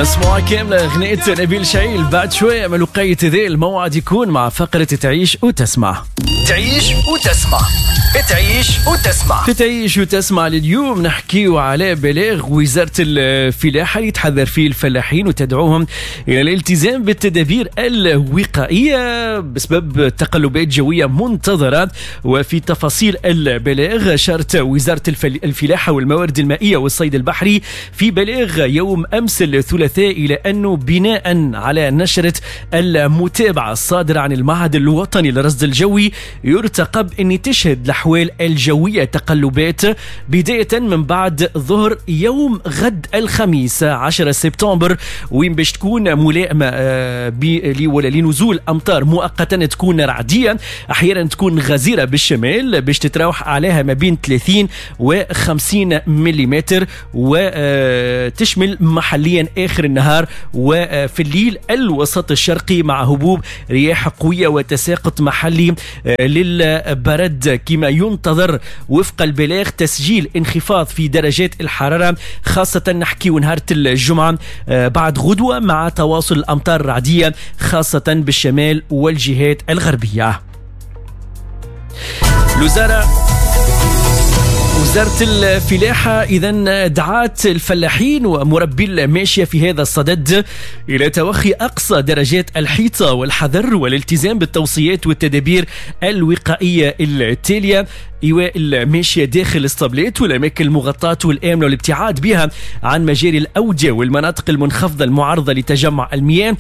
اسمعوا كاملة أغنية نبيل شعيل بعد شوية من وقيت ذي الموعد يكون مع فقرة تعيش وتسمع. تعيش وتسمع، تعيش وتسمع. في تعيش وتسمع لليوم نحكيو على بلاغ وزارة الفلاحة اللي تحذر فيه الفلاحين وتدعوهم إلى الالتزام بالتدابير الوقائية بسبب تقلبات جوية منتظرة. وفي تفاصيل البلاغ أشارت وزارة الفلاحة والموارد المائية والصيد البحري في بلاغ يوم أمس الثلاثاء إلى أنه بناء على نشرة المتابعة الصادرة عن المعهد الوطني للرصد الجوي يرتقب أن تشهد الأحوال الجوية تقلبات بداية من بعد ظهر يوم غد الخميس 10 سبتمبر، وين باش تكون ملائمة ولا لنزول أمطار مؤقتا تكون رعدية، أحيانا تكون غزيرة بالشمال باش تتراوح عليها ما بين 30 و 50 ملم، وتشمل محليا آخر النهار وفي الليل الوسط الشرقي مع هبوب رياح قوية وتساقط محلي للبرد. كما ينتظر وفق البلاغ تسجيل انخفاض في درجات الحرارة، خاصة نحكي نهار الجمعة بعد غدوة مع تواصل الأمطار الرعدية خاصة بالشمال والجهات الغربية. وزارة الفلاحة إذن دعات الفلاحين ومربي الماشية في هذا الصدد إلى توخي أقصى درجات الحيطة والحذر والالتزام بالتوصيات والتدابير الوقائية التالية: إيواء الماشية داخل الاسطبلات والأماكن المغطاة والآمنة والابتعاد بها عن مجاري الأودية والمناطق المنخفضة المعرضة لتجمع المياه،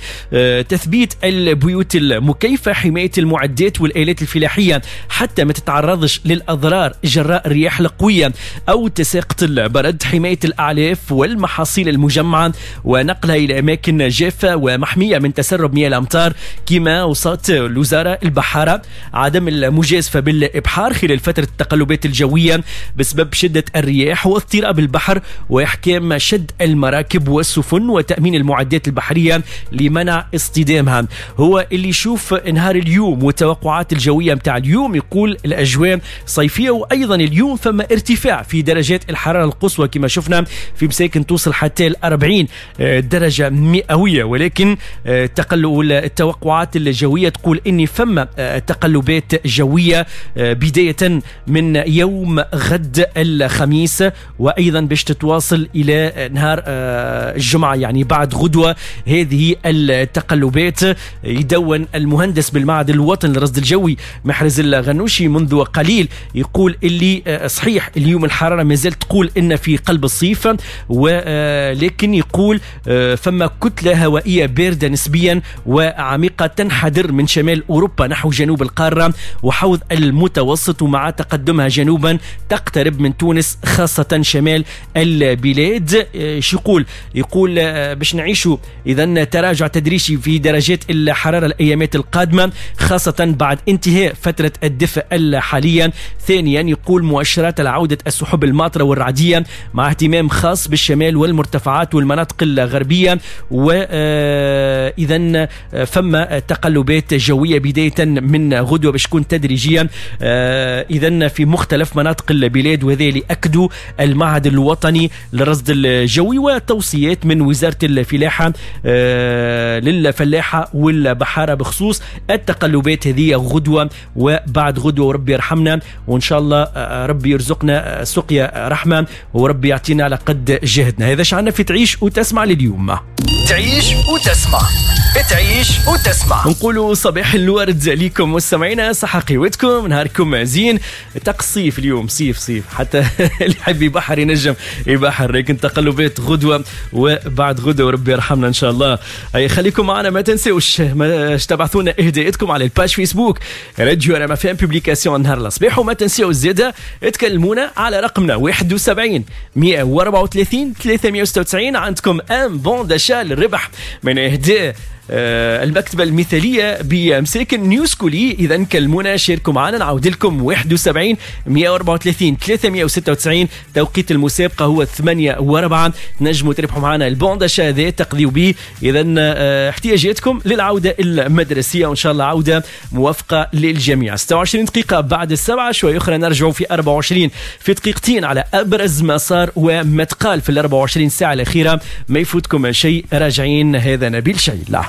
تثبيت البيوت المكيفة، حماية المعدات والآلات الفلاحية حتى ما تتعرضش للأضرار جراء الرياح القوية أو تساقط البرد، حماية الأعلاف والمحاصيل المجمعة ونقلها إلى أماكن جافة ومحمية من تسرب مياه الأمطار. كما وصلت الوزارة البحارة عدم المجازفة بالإبحار خلال فترة التقلبات الجوية بسبب شدة الرياح واضطراب البحر، وإحكام شد المراكب والسفن وتأمين المعدات البحرية لمنع اصطدامها. هو اللي يشوف نهار اليوم والتوقعات الجوية متاع اليوم يقول الأجواء صيفية، وأيضا اليوم فما ارتفاع في درجات الحرارة القصوى كما شفنا في مساكن توصل حتى 40 درجة مئوية، ولكن التوقعات الجوية تقول إن فما تقلبات جوية بداية من يوم غد الخميس، وأيضا باش تتواصل إلى نهار الجمعة يعني بعد غدوة هذه التقلبات. يدون المهندس بالمعهد الوطني للرصد الجوي محرز الغنوشي منذ قليل يقول اللي صحيح اليوم الحرارة ما زالت تقول إن في قلب الصيف، ولكن يقول فما كتلة هوائية باردة نسبيا وعميقة تنحدر من شمال أوروبا نحو جنوب القارة وحوض المتوسط، ومع تقدمها جنوبا تقترب من تونس خاصة شمال البلاد. شو يقول؟ يقول باش نعيشوا إذن تراجع تدريجي في درجات الحرارة الأيامات القادمة خاصة بعد انتهاء فترة الدفء الحالية. ثانيا يقول مؤشرات العودة السحب الماطرة والرعدية مع اهتمام خاص بالشمال والمرتفعات والمناطق الغربية، وإذن فما تقلبات جوية بداية من غدوة باش تكون تدريجيا إذن في مختلف مناطق البلاد، وهذا اللي أكدوا المعهد الوطني للرصد الجوي وتوصيات من وزارة الفلاحة للفلاحة والبحارة بخصوص التقلبات هذه غدوة وبعد غدوة. وربي يرحمنا وإن شاء الله ربي يرزقنا سقيا رحمة وربي يعطينا على قد جهدنا. هذا شعنا في تعيش وتسمع لليوم. تعيش وتسمع، تعيش وتسمع. نقولوا صباح الورد ليكم مستمعينا، صحة قوتكم، نهاركم زين. تقصيف اليوم صيف صيف، حتى اللي يحب يبحر ينجم يبحر، لكن تقلبات غدوة وبعد غدوة وربي يرحمنا إن شاء الله. خليكم معنا، ما تنسوش تبعثونا إهداءاتكم على ال page فيسبوك راديو رما فام publication نهار الصباح، وما تنساوش زادة تكلمونا على رقمنا 71 134 396. عندكم un bon d'achat للربح من إهداء المكتبة المثالية بمساكن نيوسكولي. اذا كلمونا، شاركوا معنا، نعاود لكم 71 134 396. توقيت المسابقة هو 8:04. تنجموا تربحوا معنا ال bon d'achat هذا تقضيوا به اذا احتياجاتكم للعودة المدرسيه، وان شاء الله عوده موفقة للجميع. 26 دقيقة بعد 7، شوي اخرى نرجعوا في 24 في دقيقتين على ابرز ما صار وما تقال في ال 24 ساعة الاخيره. ما يفوتكم شيء، راجعين. هذا نبيل شيلة.